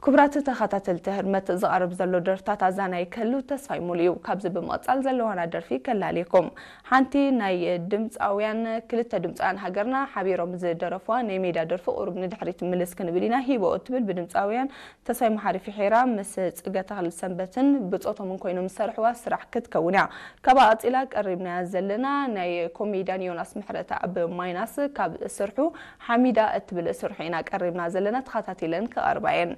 ክቡራት ተኸታተልቲ ህርመት፣ ዝቐርብ ዘሎ ደርፍታት ኣዛናይ ክህሉ ተስፋይ ሙሉ እዩ። ካብዚ ብምቕጻል ዘለዋና ደርፊ ከላልየኩም። ሓንቲ ናይ ድምጻውያን፣ ክልተ ድምጻውያን ሃገርና ሓቢሮም ዝደረፍዋ ናይ ሜዳ ደርፊ ቁሩብ ንድሕሪት ምልስ ክንብል ኢና። ሂቦ እትብል ብድምጻውያን ተስፋይ መሓሪ ፊሒራ ምስ ጽገ ተኽለ ሰንበትን ብጾቶምን ኮይኖም ዝሰርሕዋ ስራሕ ክትከውን እያ። ካብኣ ቀጺላ ቀሪብናያ ዘለና ናይ ኮሜድያን ዮናስ ምሕረተኣብ ማይናስ ካብ ስርሑ ሓሚዳ እትብል ስርሑ ኢና ቀሪብና ዘለና። ተኸታቲለን ክቐርባ እየን።